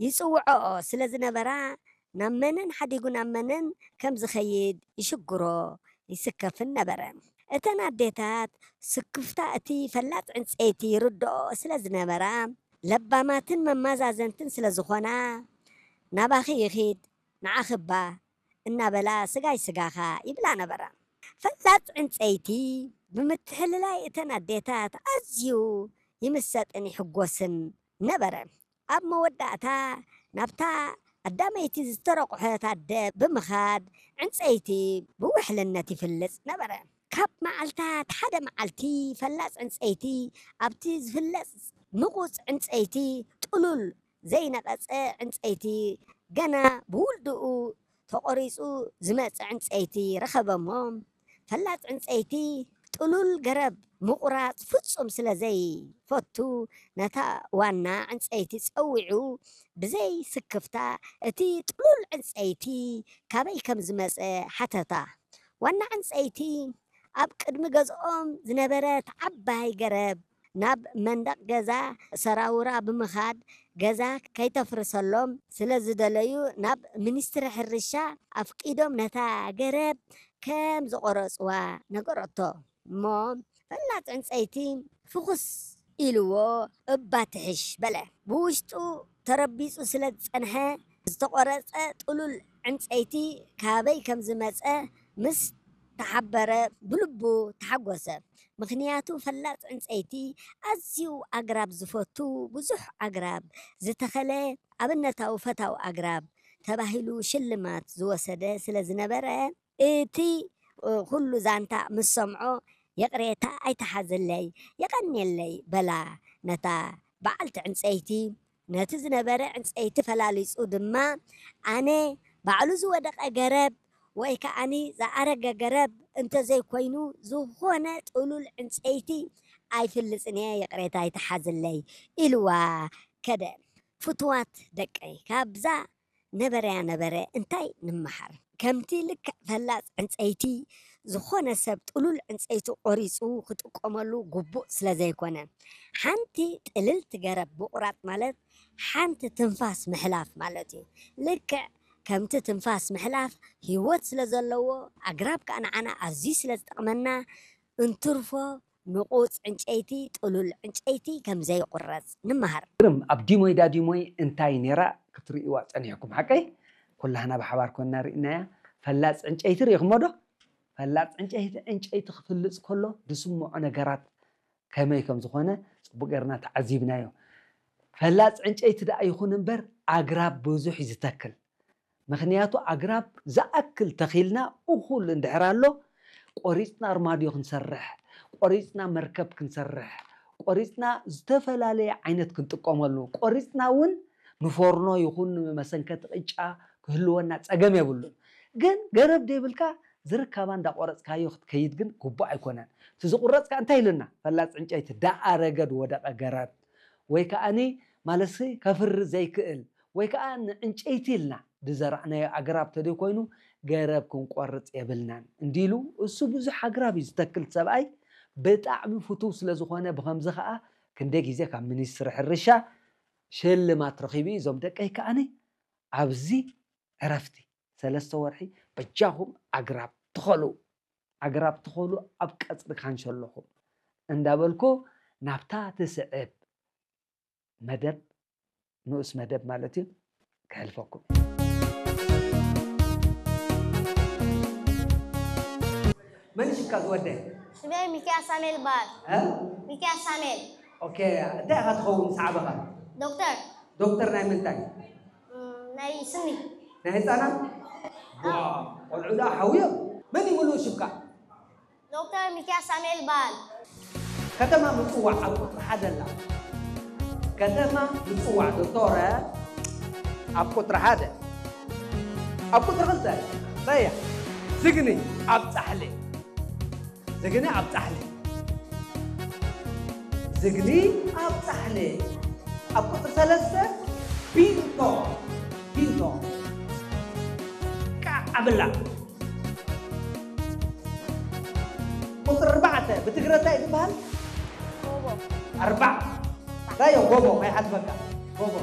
ይጽውዖኦ ስለ ዝነበራ፣ ናብ መነን ሓዲጉ ናብ መነን ከም ዝኸይድ ይሽግሮ፣ ይስከፍን ነበረ። እተን ኣዴታት ስክፍታ እቲ ፈላጽ ዕንጸይቲ ይርድኦ ስለ ዝነበራ፣ ለባማትን መማዛዘንትን ስለ ዝኾና፣ "ናባኺ ይኺድ፣ ንዓኺ እባ" እናበላ "ስጋይ ስጋኻ" ይብላ ነበራ። ፈላጽ ዕንጸይቲ ብምትሕልላይ እተን ኣዴታት ኣዝዩ ይምሰጥን ይሕጎስን ነበረ። ኣብ መወዳእታ ናብታ ኣዳመይቲ ዝተረቑሐት ኣደ ብምኻድ ዕንጸይቲ ብውሕልነት ይፍልጽ ነበረ። ካብ መዓልታት ሓደ መዓልቲ ፈላጽ ዕንጸይቲ ኣብቲ ዝፍለጽ ንቑጽ ዕንጸይቲ ጥሉል ዘይነቐጸ ዕንጸይቲ ገና ብውልድኡ ተቖሪጹ ዝመጸ ዕንጸይቲ ረኸበ እሞ፣ ፈላጽ ዕንጸይቲ ጥሉል ገረብ ምቑራጽ ፍጹም ስለ ዘይፈቱ፣ ነታ ዋና ዕንጸይቲ ጸዊዑ፣ ብዘይ ስክፍታ እቲ ጥሉል ዕንጸይቲ ካበይ ከም ዝመጸ ሓተታ። ዋና ዕንጸይቲ ኣብ ቅድሚ ገዝኦም ዝነበረት ዓባይ ገረብ ናብ መንደቕ ገዛ ሰራውራ ብምኻድ፣ ገዛ ከይተፍርሰሎም ስለ ዝደለዩ፣ ናብ ሚኒስትሪ ሕርሻ ኣፍቂዶም ነታ ገረብ ከም ዝቖረጽዋ ነገረቶ። እሞ ፈላጽ ዕንጸይቲ ፍኹስ ኢልዎ፣ "እባ ትሕሽ" በለ። ብውሽጡ ተረቢጹ ስለ ዝጸንሐ፣ ዝተቖረጸ ጥሉል ዕንጸይቲ ካበይ ከም ዝመጸ ምስ ተሓበረ፣ ብልቡ ተሓጎሰ። ምኽንያቱ ፈላጽ ዕንጸይቲ ኣዝዩ ኣግራብ ዝፈቱ፣ ብዙሕ ኣግራብ ዝተኸለ፣ ኣብነታዊ ፈታዊ ኣግራብ ተባሂሉ ሽልማት ዝወሰደ ስለ ዝነበረ፣ እቲ ኩሉ ዛንታ ምስ ሰምዖ፣ "ይቕሬታ ኣይትሓዝለይ፣ የቐንየለይ" በላ ነታ በዓልቲ ዕንጸይቲ። ነቲ ዝነበረ ዕንጸይቲ ፈላሊጹ ድማ፣ "ኣነ ባዕሉ ዝወደቐ ገረብ ወይ ከኣኒ ዝኣረገ ገረብ እንተዘይኮይኑ፣ ዝኾነ ጥሉል ዕንጸይቲ ኣይፍልጽን እየ፣ ይቕሬታ ኣይትሓዝለይ" ኢልዋ ከደ። ፍቱዋት ደቀይ፣ ካብዛ ነበረያ ነበረ እንታይ ንመሃር? ከምቲ ልክዕ ፈላጽ ዕንጸይቲ ዝኾነ ሰብ ጥሉል ዕንጸይቲ ቆሪጹ ክጥቀመሉ ግቡእ ስለ ዘይኮነ፣ ሓንቲ ጥልልቲ ገረብ ምቑራጽ ማለት ሓንቲ ትንፋስ ምሕላፍ ማለት እዩ። ልክዕ ከምቲ ትንፋስ ምሕላፍ ህይወት ስለ ዘለዎ፣ ኣግራብ ከኣ ንዓና ኣዝዩ ስለ ዝጠቕመና፣ እንትርፎ ንቑጽ ዕንጨይቲ፣ ጥሉል ዕንጨይቲ ከም ዘይቑረጽ ንመሃር። ግርም፣ ኣብ ዲሞይ ዳዲሞይ እንታይ ነይራ ክትርእይዋ ጸኒሕኩም? ሓቀይ? ኩላህና ብሓባር ኮንና ርኢናያ። ፈላጽ ዕንጨይቲ ርኢኹሞ ዶ? ፈላጽ ዕንጨይቲ፣ ዕንጨይቲ ክፍልጽ ከሎ ዝስምዖ ነገራት ከመይ ከም ዝኾነ ጽቡቕ ጌርና ተዓዚብናዮ። ፈላጽ ዕንጨይቲ ደኣ ይኹን እምበር ኣግራብ ብዙሕ እዩ ዝተክል። ምኽንያቱ ኣግራብ ዝኣክል ተኺልና እኹል እንድሕር ኣሎ፣ ቆሪጽና ኣርማድዮ ክንሰርሕ፣ ቆሪጽና መርከብ ክንሰርሕ፣ ቆሪጽና ዝተፈላለየ ዓይነት ክንጥቀመሉ፣ ቆሪጽና እውን ንፎርኖ ይኹን ንመሰንከቲ ቅጫ ክህልወና ጸገም የብሉን። ግን ገረብ ዘይብልካ ዝርካባ እንዳቆረጽካዮ ክትከይድ ግን ግቡእ ኣይኮነን። እቲ ዝቁረጽ ከኣ እንታይ ኢሉና? ፈላጽ ዕንጨይቲ፣ ደኣ ረገድ ወደቀ ገረብ፣ ወይ ከኣኒ ማለትሲ ከፍሪ ዘይክእል፣ ወይ ከኣ ንዕንጨይቲ ኢልና ዝዘራእናዮ ኣግራብ ተደይ ኮይኑ ገረብ ክንቆርጽ የብልናን እንዲሉ፣ እሱ ብዙሕ ኣግራብ እዩ ዝተክል ሰብኣይ፣ ብጣዕሚ ፍቱው ስለ ዝኾነ፣ ብኸምዚ ከኣ ክንደይ ግዜ ካብ ሚኒስትሪ ሕርሻ ሽልማት ረኺቡ እዩ። እዞም ደቀይ ከኣኒ ኣብዚ ዕረፍቲ ሰለስተ ወርሒ በጃኹም ኣግራብ ትኸሉ፣ ኣግራብ ትኸሉ ኣብ ቀጽሪ ካንሸሎኹም እንዳበልኩ ናብታ ትስዕብ መደብ፣ ንኡስ መደብ ማለት እዩ፣ ከሕልፈኩም። መን ሽካ ዝወደ? ሽመይ ሚኪያስ ሳሙኤል ይበሃል። እ? ሚኪያስ ሳሙኤል። ኦኬ፣ እንታይ ኢኻ ትኸውን ምስ ዓበኻ? ዶክተር። ዶክተር ናይ ምንታይ? እም፣ ናይ ስኒ። ናይ ህፃናት? ዋ፣ ቆልዑ ደኣ ሓውዮም። መን እዩ ምሉእ ሽምካ? ዶክተር ሚኪያስ ሳሙኤል ይበሃል። ከተማ ምጽዋዕ ኣብ ቁጽሪ ሓደ ኣላ። ከተማ ምጽዋዕ ዶክተር ኣብ ቁጽሪ ሓደ። ኣብ ቁጽሪ ክልተ እንታይ እያ? ዝግኒ ኣብ ጻሕሊ። ዝግኒ ኣብ ጻሕሊ። ዝግኒ ኣብ ጻሕሊ። ኣብ ቁጽሪ ሰለስተ ቢንቶ። ቢንቶ። ቃዕ ኣብላ። ቁጽሪ ኣርባዕተ ብትግረ እንታይ እዩ ዝበሃል? ጎቦ። ኣርባዕ። እንታይ እዩ ጎቦ? ማይ ሓትበካ። ጎቦ።